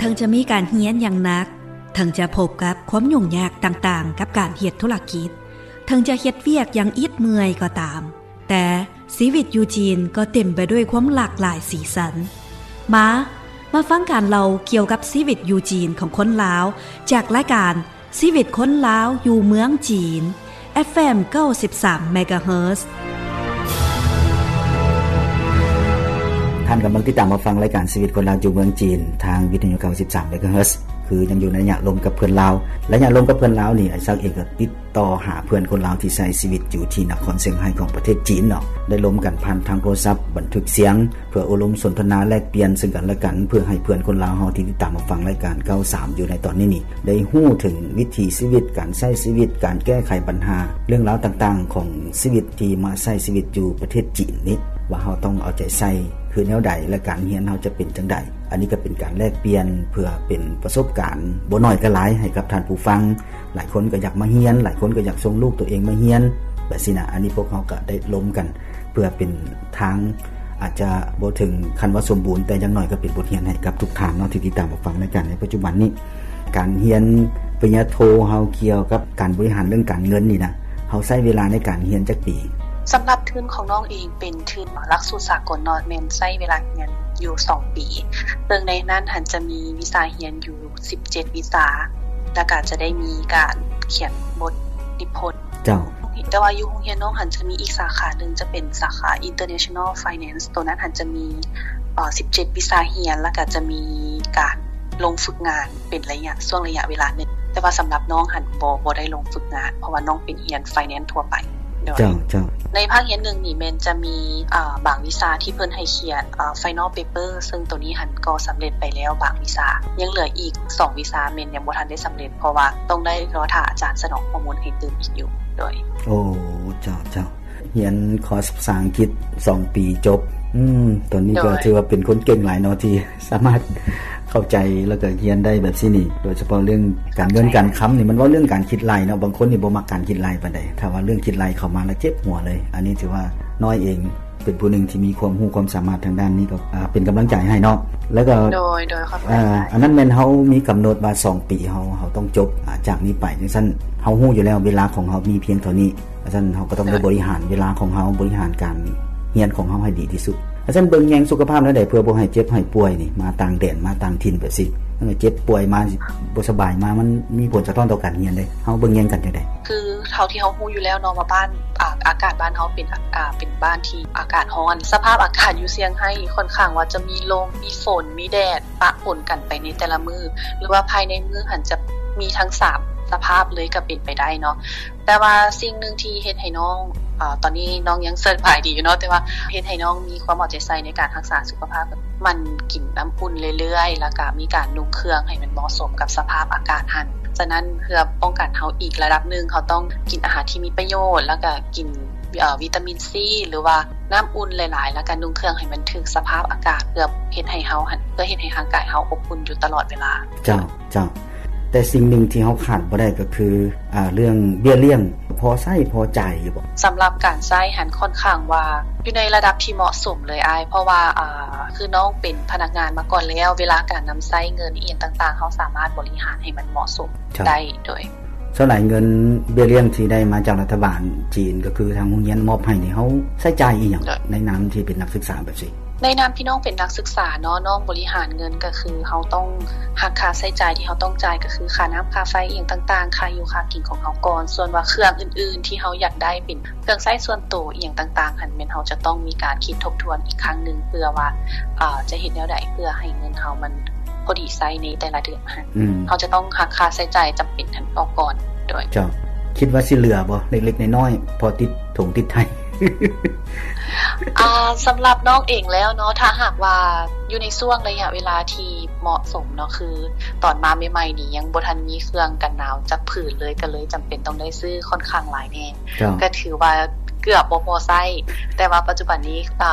ງຈະມີການຮຽນຢ່າງໜັກ, ເຖິງຈະພົບກັບຄວາມຫຍຸ້ງຍາກຕ່າງໆກັບການເຮັດທຸລະກິດ, ເຖິງຈະເຮັດວຽກຢ່າງອິດເມື່ອຍກໍຕາມ, ແຕ່ຊີວິດຢູ່ຈີນກໍເຕັມໄປດ້ວຍຄວາມຫຼາກຫຼາຍສີສັນ. ມາ, ມາຟັງການເລົ່າກ່ຽວກັບຊີວິດຢູ່ຈີນຂອງຄົນລາວ ຈາກລາຍການ ຊີວິດຄົນລາວຢູ່ເມືອງຈີນ ເອັຟເອັມ ເກົ້າສິບສາມ ເມກາເຮີດ. ທ່ານກຳລັງຕິດຕາມຮັບຟັງລາຍການຊີວິດຄົນລາວຢູ່ເມືອງຈີນ ທາງວິທະຍຸ ເກົ້າສິບສາມ ເມກາເຮີດ. ຄືຍັງຢູ່ໃນໄລຍະລົມກັບເພື່ອນລາວ. ໄລຍະລົມກັບເພື່ອນລາວນີ້ ອ້າຍສັກເອງກໍຕິດຕໍ່ຫາເພື່ອນຄົນລາວທີ່ໃຊ້ຊີວິດຢູ່ທີ່ນະຄອນຊຽງໄຮ້ຂອງປະເທດຈີນເນາະ. ໄດ້ລົມກັນຜ່ານທາງໂທລະສັບ, ບັນທຶກສຽງ ເພື່ອໂອ້ລົມສົນທະນາແລກປ່ຽນເຊິ່ງກັນແລະກັນ ເພື່ອໃຫ້ເພື່ອນຄົນລາວເຮົາທີ່ຕິດຕາມຮັບຟັງລາຍການ ເກົ້າສິບສາມ ຢູ່ໃນຕອນນີ້ນີ້ ໄດ້ຮູ້ເຖິງວິຖີຊີວິດ, ການໃຊ້ຊີວິດ, ການແກ້ໄຂບັນຫາ, ເລື່ອງລາວຕ່າງໆຂອງຊີວິດທີ່ມາໃຊ້ຊີວິດຢູ່ປະເທດຈີນນີ້ ວ່າເຮົາຕ້ອງເອົາໃຈໃສ່ຄືແນວໃດ ແລະ ການຮຽນເຮົາຈະເປັນຈັ່ງໃດ. ອັນນີ້ກໍເປັນການແລກປ່ຽນເພື່ອເປັນປະສົບການ ບໍ່ໜ້ອຍກໍຫຼາຍ ໃຫ້ກັບທ່ານຜູ້ຟັງ. ຫຼາຍຄົນກໍຢາກມາຮຽນ, ຫຼາຍຄົນກໍຢາກສົ່ງລູກຕົວເອງມາຮຽນ ແບບຊີ້ນະ. ອັນນີ້ພວກເຮົາກໍໄດ້ລົມກັນ ເພື່ອເປັນທາງ ອາດຈະບໍ່ເຖິງຂັ້ນວ່າສົມບູນ ແຕ່ຢ່າງໜ້ອຍກໍເປັນບົດຮຽນໃຫ້ກັບທຸກທ່ານເນາະ ທີ່ຕິດຕາມຮັບຟັງລາຍການໃນປັດຈຸບັນນີ້. ການຮຽນປະລິນຍາໂທເຮົາກ່ຽວກັບການບໍລິຫານເລື່ອງການເງິນນີ້ນະ ເຮົາໃຊ້ເວລາໃນການຮຽນຈັກປີ? ສຳລັບທຶນຂອງນ້ອງເອງເປັນທຶນຫຼັກສູດສາກົນເນາະ ແມ່ນໃຊ້ເວລາຮຽນຢູ່ສອງປີ ເຊິ່ງໃນນັ້ນຫັ້ນຈະມີວິຊາຮຽນຢູ່ສິບເຈັດວິຊາ ແລ້ວກໍຈະໄດ້ມີການຂຽນບົດນິພົນ. ເຈົ້າ. ແຕ່ວ່າຢູ່ໂຮງຮຽນນ້ອງຫັ້ນຈະມີອີກສາຂາໜຶ່ງ ຈະເປັນສາຂາ International Finance ໂຕນັ້ນຫັ້ນຈະມີ ເອີ ສິບເຈັດວິຊາຮຽນ ແລ້ວກໍຈະມີການລົງຝຶກງານເປັນໄລຍະ ຊ່ວງໄລຍະເວລາໜຶ່ງ. ແຕ່ວ່າສຳລັບນ້ອງຫັ້ນບໍ່ ບໍ່ໄດ້ລົງຝຶກງານ ເພາະວ່ານ້ອງເປັນຮຽນ Finance ທົ່ວໄປ. ໂດຍ. ເຈົ້າ, ເຈົ້າ. ໃນພາກຮຽນໜຶ່ງນີ້ແມ່ນຈະມີ ເອີ ບາງວິຊາທີ່ເພິ່ນໃຫ້ຂຽນ ເອີ Final Paper ເຊິ່ງໂຕນີ້ຫັ້ນກໍສຳເລັດໄປແລ້ວບາງວິຊາ ຍັງເຫຼືອອີກສອງວິຊາແມ່ນຍັງບໍ່ທັນໄດ້ສຳເລັດ ເພາະວ່າຕ້ອງໄດ້ລໍຖ້າອາຈານສະໜອງຂໍ້ມູນໃຫ້ຕື່ມອີກຢູ່. ໂດຍ. ໂອ້ ເຈົ້າ, ເຈົ້າ. ຮຽນຄອສພາສາອັງກິດສອງປີຈົບ. ອືມ ຕອນນີ້ກໍ ໂດຍ ຖືວ່າເປັນຄົນເກັ່ງຫຼາຍເນາະ ທີ່ສາມາດເຂົ້າໃຈ ແລ້ວກໍຮຽນໄດ້ແບບຊີ້ນີ້. ໂດຍສະເພາະເລື່ອງການເງິນການຄຳນີ້ ມັນເວົ້າເລື່ອງການຄິດໄລ່ເນາະ. ບາງຄົນນີ້ບໍ່ມັກການຄິດໄລ່ປານໃດ. ຖ້າວ່າເລື່ອງຄິດໄລ່ເຂົ້າມາແລ້ວເຈັບຫົວເລີຍ. ອັນນີ້ຖືວ່ານ້ອຍເອງ ເປັນຜູ້ໜຶ່ງທີ່ມີຄວາມຮູ້ຄວາມສາມາດທາງດ້ານນີ້ ກໍ ອ່າ ເປັນກຳລັງໃຈໃຫ້ເນາະ. ແລ້ວກໍ ໂດຍ ໂດຍ ຂອບໃຈ. ອ່າ ອັນນັ້ນແມ່ນເຮົາມີກຳນົດວ່າສອງປີເຮົາ ເຮົາຕ້ອງຈົບ ອ່າ ຈາກນີ້ໄປ. ຈັ່ງຊັ້ນເຮົາຮູ້ຢູ່ແລ້ວເວລາຂອງເຮົາມີພຽງເທົ່ານີ້. ຈັ່ງຊັ້ນເຮົາກໍຕ້ອງໄດ້ ໂດຍ ບໍລິຫານເວລາຂອງເຮົາ, ບໍລິຫານການຮຽນຂອງເຮົາໃຫ້ດີທີ່ສຸດ. ຈັ່ງຊັ້ນເບິ່ງແຍງສຸຂະພາບແນວໃດ ເພື່ອບໍ່ໃຫ້ເຈັບໃຫ້ປ່ວຍນີ້ ມາຕ່າງແດນ ມາຕ່າງຖິ່ນແບບຊີ້. ເຈັບປ່ວຍມາ ບໍ່ສະບາຍມາ ມັນມີຜົນສະທ້ອນຕໍ່ການຮຽນເດ້. ເຮົາເບິ່ງແຍງກັນຈັ່ງໃດ? ຄືເທົ່າທີ່ເຮົາຮູ້ຢູ່ແລ້ວເນາະວ່າບ້ານ ອາ ອາກາດບ້ານເຮົາເປັນ ອາ ເປັນບ້ານທີ່ອາກາດຮ້ອນ. ສະພາບອາກາດຢູ່ຊຽງໄຮ້ຂ້ອນຂ້າງວ່າຈະມີລົມ, ມີຝົນ, ມີແດດ ປະປົນກັນໄປໃນແຕ່ລະມື້ ຫຼືວ່າພາຍໃນມື້ຫັ້ນຈະມີທັງສາມສະພາບເລີຍກໍເປັນໄປໄດ້ເນາະ. ແຕ່ວ່າສິ່ງໜຶ່ງທີ່ເຮັດໃຫ້ນ້ອງ ອາ ຕອນນີ້ນ້ອງຍັງສະບາຍດີຢູ່ເນາະ ແຕ່ວ່າເຮັດໃຫ້ນ້ອງມີຄວາມເອົາໃຈໃສ່ໃນການຮັກສາສຸຂະພາບ ໝັ່ນກິນນ້ຳອຸ່ນເລື້ອຍໆ ແລ້ວກະມີການນຸ່ງເຄື່ອງໃຫ້ມັນເໝາະສົມກັບສະພາບອາກາດຫັ້ນ. ສະນັ້ນເພື່ອປ້ອງກັນເຮົາອີກລະດັບໜຶ່ງ ເຮົາຕ້ອງກິນອາຫານທີ່ມີປະໂຫຍດ ແລ້ວກະກິນ ເອີ ວິຕາມິນຊີ ຫຼືວ່ານ້ຳອຸ່ນຫຼາຍໆ ແລ້ວກະນຸ່ງເຄື່ອງໃຫ້ມັນຖືກສະພາບອາກາດ ເພື່ອເຮັດໃຫ້ເຮົາຫັ້ນ ເພື່ອເຮັດໃຫ້ຮ່າງກາຍເຮົາອົບອຸ່ນຢູ່ຕະຫຼອດເວລາ. ເຈົ້າ. ເຈົ້າ ແຕ່ສິ່ງໜຶ່ງທີ່ເຮົາຂາດບໍ່ໄດ້ກໍຄື ອ່າ ເລື່ອງເບ້ຍລ້ຽງ ພໍໃຊ້ພໍຈ່າຍຢູ່ບໍ່? ສຳລັບການໃຊ້ຫັ້ນຂ້ອນຂ້າງວ່າຢູ່ໃນລະດັບທີ່ເໝາະສົມເລີຍອ້າຍ ເພາະວ່າ ອ່າ ຄືນ້ອງເປັນພະນັກງານມາກ່ອນແລ້ວ ເວລາການນຳໃຊ້ເງິນອີ່ຫຍັງຕ່າງໆ ເຮົາສາມາດບໍລິຫານໃຫ້ມັນເໝາະສົມ ເຈົ້າ ໄດ້. ໂດຍ. ສ່ວນຫຼາຍເງິນເບ້ຍລ້ຽງທີ່ໄດ້ມາຈາກລັດຖະບານຈີນ ກໍຄືທາງໂຮງຮຽນມອບໃຫ້ນີ້ ເຮົາໃຊ້ຈ່າຍອີ່ຫຍັງ ໂດຍ ໃນນາມທີ່ເປັນນັກສຶກສາແບບຊີ້? ໃນນາມທີ່ນ້ອງເປັນນັກສຶກສາເນາະ ນ້ອງບໍລິຫານເງິນກໍຄືເຮົາຕ້ອງຫັກຄ່າໃຊ້ຈ່າຍທີ່ເຮົາຕ້ອງຈ່າຍ ກໍຄືຄ່ານ້ຳຄ່າໄຟອີ່ຫຍັງຕ່າງໆ ຄ່າຢູ່ຄ່າກິນຂອງເຮົາກ່ອນ. ສ່ວນວ່າເຄື່ອງອື່ນໆທີ່ເຮົາຢາກໄດ້ເປັນເຄື່ອງໃຊ້ສ່ວນໂຕອີ່ຫຍັງຕ່າງໆຫັ້ນ ແມ່ນເຮົາຈະຕ້ອງມີການຄິດທົບທວນອີກຄັ້ງໜຶ່ງ ເພື່ອວ່າ ເອີ ຈະເຮັດແນວໃດເພື່ອໃຫ້ເງິນເຮົາມັນພໍດີໃຊ້ໃນແຕ່ລະເດືອນຫັ້ນ. ອືມ ເຮົາຈະຕ້ອງຫັກຄ່າໃຊ້ຈ່າຍຈຳເປັນຫັ້ນອອກກ່ອນ. ໂດຍ. ເຈົ້າ ຄິດວ່າຊິເຫຼືອບໍ່ ເລັກໆນ້ອຍໆ ພໍຕິດຖົງຕິດໄຖ? ອ່າ ສຳລັບນ້ອງເອງແລ້ວເນາະ ຖ້າຫາກວ່າຢູ່ໃນຊ່ວງໄລຍະເວລາທີ່ເໝາະສົມເນາະ ຄືຕອນມາໃໝ່ໆນີ້ຍັງບໍ່ທັນມີເຄື່ອງກັນໜາວຈັກຜືນເລີຍ ກໍເລີຍຈຳເປັນຕ້ອງໄດ້ຊື້ຂ້ອນຂ້າງຫຼາຍແດ່. ເຈົ້າ. ກໍຖືວ່າເກືອບບໍ່ພໍໃຊ້ ແຕ່ວ່າປັດຈຸບັນນີ້ ອ່າ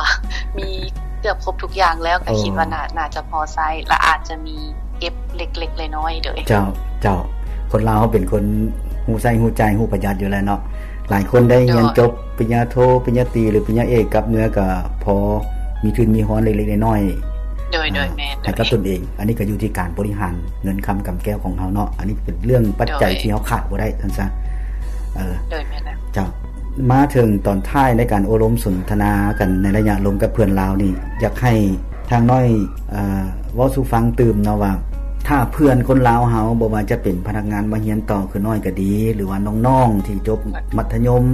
ມີເກືອບຄົບທຸກຢ່າງແລ້ວ ກໍ ໂອ້ ຄິດວ່າໜ້າ ໜ້າຈະພໍໃຊ້ ແລະ ອາດຈະມີເກັບເລັກໆນ້ອຍໆ. ໂດຍ. ເຈົ້າ ເຈົ້າ. ຄົນລາວເຮົາເປັນຄົນຮູ້ໃຊ້ຮູ້ຈ່າຍ ຮູ້ປະຢັດຢູ່ແລ້ວເນາະ. ຫຼາຍຄົນໄດ້ຮຽນ ໂດຍ ຈົບປະລິນຍາໂທ ປະລິນຍາຕີ ຫຼື ປະລິນຍາເອກ ກັບເມືອກໍພໍມີທຶນມີຮອນເລັກໆນ້ອຍໆ. ໂດຍ ໂດຍ ອ່າ ແມ່ນ ໃຫ້ກັບ ໂດຍ ຕົນເອງ. ອັນນີ້ກໍຢູ່ທີ່ການບໍລິຫານເງິນຄຳກຳແກ້ວຂອງເຮົາເນາະ. ອັນນີ້ເປັນເລື່ອງປັດໄຈ ໂດຍ ທີ່ເຮົາຂາດບໍ່ໄດ້ ຊັ້ນຊະ. ເອີ ໂດຍ ແມ່ນແລ້ວ. ເຈົ້າ. ມາເຖິງຕອນທ້າຍໃນການໂອ້ລົມສົນທະນາກັນໃນໄລຍະລົມກັບເພື່ອນລາວນີ້ ຢາກໃຫ້ທາງນ້ອຍ ເອີ ເວົ້າສູ່ຟັງຕື່ມເນາະວ່າ ຖ້າເພື່ອນຄົນລາວເຮົາ ບໍ່ວ່າຈະເປັນພະນັກງານມາຮຽນຕໍ່ຄືນ້ອຍກໍດີ ຫຼືວ່ານ້ອງໆທີ່ຈົບມັດທະຍົມ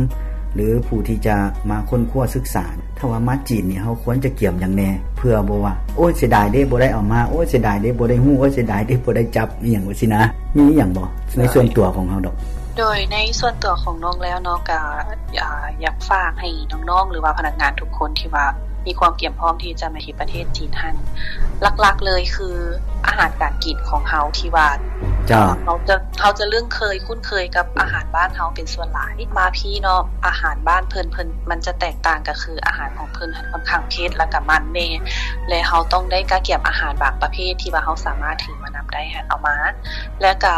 ຫຼືຜູ້ທີ່ຈະມາຄົ້ນຄວ້າສຶກສາ ຖ້າວ່າມາຈີນນີ້ ເຮົາຄວນຈະກຽມຫຍັງແດ່ ເພື່ອບໍ່ວ່າ ໂອ້ຍ ເສຍດາຍເດ້ ບໍ່ໄດ້ເອົາມາ ໂອ້ຍ ເສຍດາຍເດ້ ບໍ່ໄດ້ຮູ້ ໂອ້ຍ ເສຍດາຍເດ້ ບໍ່ໄດ້ຈັບ ອີ່ຫຍັງຈັ່ງຊີ້ນະ. ມີອີ່ຫຍັງບໍ່ ໃນສ່ວນຕົວຂອງເຮົາດອກ? ໂດຍ ໃນສ່ວນຕົວຂອງນ້ອງແລ້ວເນາະ ກະ ອ່າ ຢາກຝາກໃຫ້ນ້ອງໆ ຫຼືວ່າພະນັກງານທຸກຄົນທີ່ວ່າມີຄວາມກຽມພ້ອມທີ່ຈະມາເຮັດປະເທດຈີນຫັ້ນ ຫຼັກໆ ເລີຍຄືອາຫານການກິນຂອງເຮົາທີ່ວ່າ ເຈົ້າ ເຮົາຈະ ເຮົາຈະລຶ້ງເຄີຍຄຸ້ນເຄີຍກັບອາຫານບ້ານເຮົາເປັນສ່ວນຫຼາຍ. ມາພີ້ເນາະ ອາຫານບ້ານເພິ່ນ ເພິ່ນ ມັນຈະແຕກຕ່າງ ກໍຄືອາຫານຂອງເພິ່ນຫັ້ນຄ່ອນຂ້າງເຜັດ ແລ້ວກໍມັນແດ່ ແລະ ເຮົາຕ້ອງໄດ້ກະກຽມອາຫານບາງປະເພດທີ່ວ່າເຮົາສາມາດຖືມານຳໄດ້ຫັ້ນເອົາມາ ແລ້ວກໍ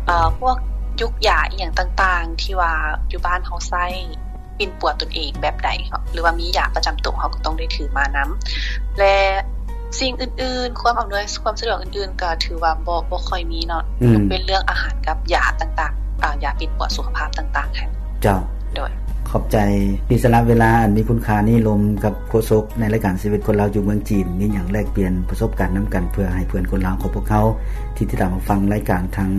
ເອີ ພວກຢູກຢາອີ່ຫຍັງຕ່າງໆ ທີ່ວ່າຢູ່ບ້ານເຮົາໃຊ້ປິ່ນປົວຕົນເອງແບບໃດ ເຮົາ ຫຼືວ່າມີຢາປະຈຳໂຕ ເຮົາກໍຕ້ອງໄດ້ຖືມານຳ ແລະ ສິ່ງອື່ນໆ ຄວາມອຳນວຍຄວາມສະດວກອື່ນໆ ກໍຖືວ່າບໍ່ ບໍ່ຄ່ອຍມີເນາະ ອືມ ຍົກເວັ້ນເລື່ອງອາຫານກັບຢາຕ່າງໆ ອາ ຢາປິ່ນປົວສຸຂະພາບຕ່າງໆ ຫັ້ນ. ເຈົ້າ. ໂດຍ. ຂອບໃຈທີ່ສະຫຼະເວລາອັນມີຄຸນຄ່ານີ້ລົມກັບໂຄສົກໃນລາຍການຊີວິດຄົນລາວຢູ່ເມືອງຈີນ ມີຫຍັງແລກປ່ຽນປະສົບການນຳກັນ ເພື່ອໃຫ້ເພື່ອນຄົນລາວຂອງພວກເຮົາທີ່ຕິດຕາມຮັບຟັງລາຍການທາງ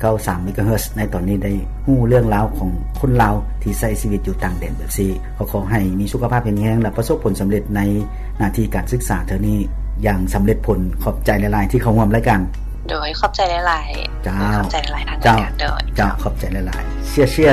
ເກົ້າສິບສາມ ເມກາເຮີດ ໃນຕອນນີ້ໄດ້ຮູ້ເລື່ອງລາວຂອງຄົນລາວທີ່ໃຊ້ຊີວິດຢູ່ຕ່າງແດນແບບຊີ້. ຂໍ ຂໍໃຫ້ມີສຸຂະພາບແຂງແຮງ ແລະ ປະສົບຜົນສຳເລັດໃນໜ້າທີ່ການສຶກສາເທື່ອນີ້ຢ່າງສຳເລັດຜົນ. ຂອບໃຈຫຼາຍໆ ທີ່ເຂົ້າຮ່ວມລາຍການ. ໂດຍ ຂອບໃຈຫຼາຍໆ. ເຈົ້າ. ຂອບໃຈຫຼາຍໆ ທາງ ເຈົ້າ ລາຍການ. ໂດຍ. ເຈົ້າ ຂອບໃຈຫຼາຍໆ. ເຊຍເຊຍ.